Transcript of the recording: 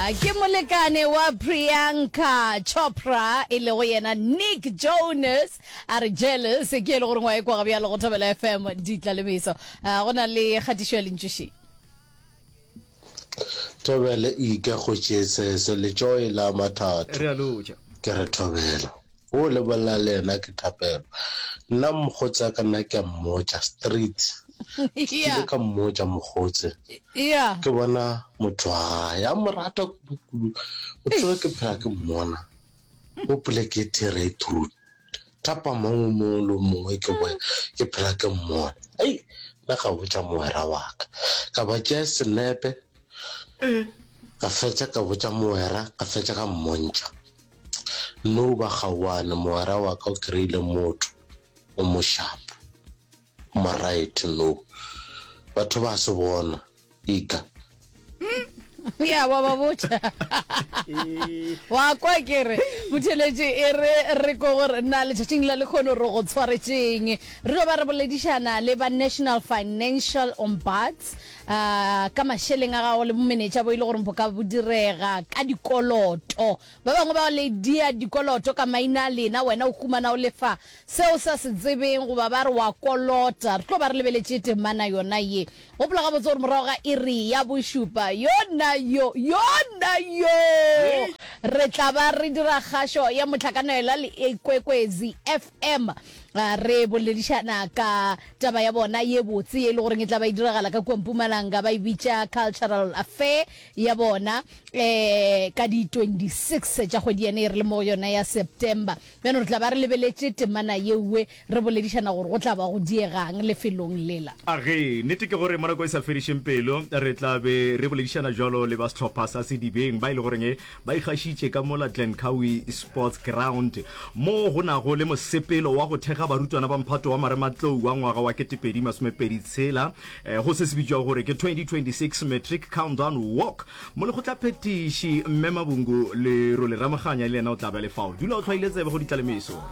Ke molekane wa Priyanka Chopra e lego yena Nick Jonas a re jealous ke e le gore ngwa e kwa bjalo go Thobela FM ditla le meso. Go na le kgatišo ya lentšu še. Thobela ike go tšesese letšoe la mathatho. Re a lotša. Ke re Thobela. O lebelela le yena ke thapelo. Nna mokgotsi wa ka nna ke a mmotša street. Ke kile ka mmotša mokgotsi. Ke bona motho wa gae a mo rata kudu kudu. O tsebe ke phela ke mmona o poleke e there through. Thapama o mongwe le o mongwe ke boya ke phela ke mmona. Ei nna ka botša mogwera wa ka. Ka ba tšea senepe ka fetša ka botša mogwera ka fetša ka mmontšha. No ba gauane, mogwera wa ka o kry-ile motho o mo sharp, o mo right no. Batho ba se bona, ika. Ya wa ba botša. Wa kwa ke re motheletši e re re ko gore na letšatšing la lekgono re go tshwaretšeng. Re tlo ba re boledišana le ba National Financial Ombuds uh, ka mašeleng a gago le bomenetša bo e le gore bo ka bo direga ka dikoloto. Ba bangwe ba le dia dikoloto ka maina a lena, wena o humana o lefa seo o sa se tsebeng goba ba re wa kolota. Re tlo ba re lebeletše temana yona ye. Gopola gabotse gore morago ga iri ya bošupa, yona yo, yona yo, re tla ba re dira kgašo ya mohlakanelwa le Ikwekwezi FM. Re boledišana ka taba ya bona ye botse ye e le goreng e tla ba e diragala ka kua Mpumalanga, ba e bitša Cultural Affair ya bona um ka di 26 tša kgwedi yena e re le mo go yona ya September. Bjano re tla ba re lebeletše temana yeue re boledišana gore go tla ba go diegang lefelong lela. Age, nnete ke gore mo nako e sa fedišeng pelo re tla be re boledišana bjalo le ba sehlopha sa Sedibeng ba e le goreng ba ikgašitše ka mola Glencoe Sports Ground mo go nago le mosepelo wa go thekga barutwana ba mphato wa marematlou wa ngwaga wa 2026 go se se bitšwago gore ke 2026 Matric Countdown Walk. Molekgotlaphethiši Mme Mabungu Lerole Ramoganya le yena o tla be a le fao. Dula o hlwaile tsebe go ditlalemeso.